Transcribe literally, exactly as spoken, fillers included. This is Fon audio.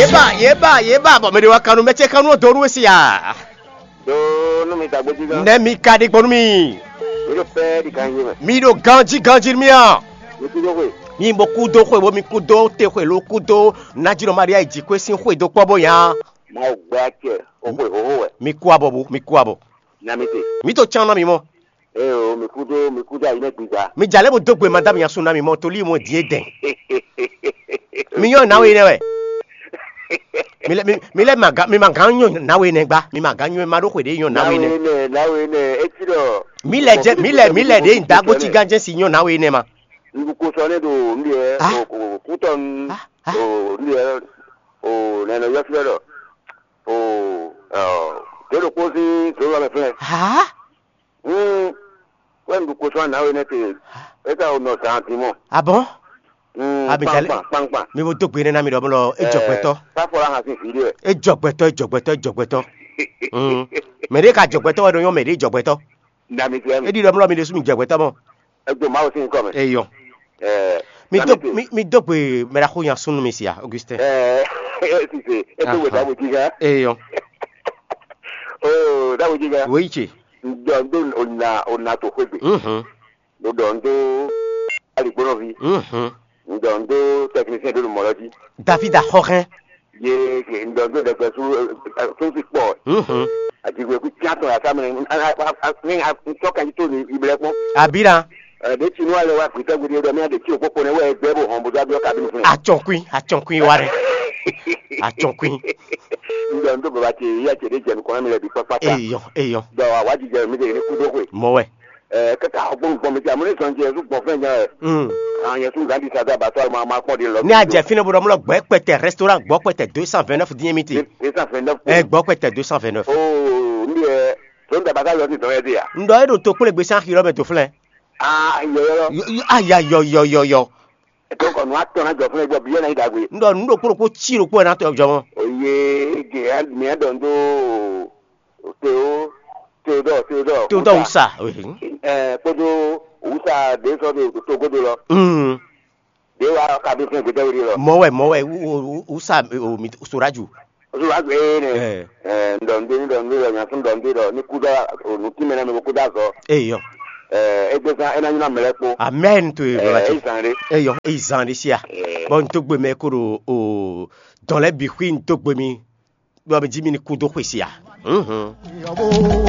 Yě ba, yě ba, yě ba, bɔ mɛ ɖé wá kanú mɛ ce kanú ɔ́ dó nú we si a? Ɖó nú mi dagbo jí gán. Nɛ́ mi ka ɖe gbɔn nú mi? Mi ɖo pɛ́ ɖi ganjí mɛ. Mi ɖo ganjí ganjí nú mì a? Mi kú dó xwe. Mi bo kú dó xwe, bo mi kú dó te xwe ló kú dó Nájínɔ Maria e jǐxwé sín xwe dó kpɔ́ bó nya. Mawu gbɛ acɛ, o xwe hoho wɛ. Mi kú abɔ bú, mi kú abɔ. Nya mi te. Mi to cán ná mi mɔ. Eo, mi kúdó mi kúdó ayi nɛ gbigba. Mi jà lɛ́ bo dó gbe madami asun ná mi mɔ tolí mo dǐe dɛn. Mi nyɔ́ nǎwe énɛ́ wɛ. Mi lɛ mi mi lɛ ma gán mi ma gán nyɔ́ nǎwe énɛ́ gbá. Mi ma gán nyɔ́ ma ɖó xwe ɖě nyɔ́ nǎwe Náwe énɛ́. Nɛ, náwe nɛ, etí ɖɔ. Mi lɛ jɛ mi lɛ mi lɛ ɖě nyi dago tí gán jẹ́ si nyɔ́ nǎwe énɛ́ ma. Nduko sɔ ne ɖo nɖiɛ Ah. Kútɔnu Ah, ah. O nɖiɛ o nɛnɛ yɔfilɛ ɖɔ o ɔ ɖě ɖokpó sín zoló mɛ flɛ́. Ah. Hmm. Wɛ un ɖu ko sɔn nǎwe nɛ́ te. É ka wo nɔ zan din mɔ. Ah bon? Hmm, Abi kpán, kpán, kpán, kpán. Mi bo dó gbe énɛ́ ná mi ɖɔ mɔ lɔ é jɔ gbɛtɔ́. Sáfɔ la hàn sín vǐ ɖé wɛ. É jɔ gbɛtɔ́, é jɔ gbɛtɔ́, é jɔ gbɛtɔ́. Hmm. Mɛ ɖé ka jɔ gbɛtɔ́ wɛ ɖo nyɔ́ mɛ ɖé jɔ gbɛtɔ́. Nda mi fẹ́ É mi. Ɖi ɖɔ mɔ lɔ mi ɖésú mi jɔ gbɛtɔ́ mɔ. É do Mawu sín nyǐkɔ mɛ. Eyɔ. Ɛ, Mi nda dó mi fẹ́. Mi mi dó gbe mɛ ɖaxó nya súnnu mi sia Augustin. Ɛ, ɛ sise, é tó wɛ Ahan. Dabo jí gán. Eyɔ. Oo, dabo jí gán. Wéyi ce. Ŋdɔ ŋdó ona ona to xwégbe. Mhm. Ɖo ɖɔ ŋdó aligbónɔví. Mhm. Ŋdɔ ŋdó tɛknisɛn ɖó ɖo mɔ̌ lɔ jí. David axɔxɛn. Ye ke ŋdɔ ŋdó ɖɛkpɛ sú sú sí kpɔ. Mhm. Adzigbekú tiatɔn yasa mɛ ní ŋutɔ kan tó ní iblɛ kpɔn. Abira. Ɖé tsi nú alɛ wa gbitɛ gbede ɖɔ mɛ ɖe tsi òkpókpó nɛ wɛ gbɛ bo hɔn bo dɔ abiɔ kabini fún. Atsɔnkui atsɔnkui wa ɖe. Atsɔnkui. Ŋdɔ ŋdó baba tse ya tse ɖe jɛ nukɔn mi lɛ bi kpakpata. Eyɔ eyɔ. Dɔ awa jijɛ mi de ní kúdó xwe. Mɔ wɛ. Ɛ kaka xɔ gbɔn gbɔn mi ti amúnɛ sɔn jɛ su gbɔn fɛn jɛ. Mm. An yɛ su gandi sa da ba sɔrɔ ma ma kpɔn de lɔ. Ní a jɛ fínɛ bó ɖɔ mlɔ gbɔ kpɛtɛ restaurant gbɔ kpɛtɛ deux cent vingt-neuf diɲɛ mi te. Deux cent vingt-neuf. Ɛ gbɔ kpɛtɛ deux cent vingt-neuf. Oo n yɛ tó n daba sa yɔ ti dɔn yɛ de ya. N ɖɔ e ɖo to kple gbèsè axi lɔ mɛ to flɛ. Ah yɔ yɔ yɔ. Aya yɔ yɔ yɔ yɔ. Ɛtɔ kɔ nu atɔ na jɔ fún mi gbɔ bi yɛ na yi dagbe. N ɖɔ nu ɖokpó ɖokpó tsi ɖokpó yɛ na tɔ jɔ mɔ. Oye ge ya mi ya dɔn do teo teodɔ teodɔ. Teodɔ wusa. Ɛ kpodo wusa de sɔ de togodo lɔ. Mm. De wa kabi fún gbɛdɛ wuli lɔ. Mɔ wɛ mɔ wɛ wusa o mi soraju. Oṣù wa gbé ne. Ɛ ndɔ̀ndé ní dɔ̀ndé lɔ nyà fún dɔ̀ndé lɔ ní kú dá ònú tí mɛ náà mi kú dá zɔ. Eyɔ. Ɛ égbé sán é ná nyí ná mɛlɛ kpó. Amɛn to ye Ɛ baba é ti. Zan ɖé. Eyɔ eyi zan ɖé sia. Bɔn n tó gbe mɛ kó ɖo o dɔn lɛ bi xwi n tó gbe mi. Bɔ mi jí mi ní kú dó xwe sia. Mhm.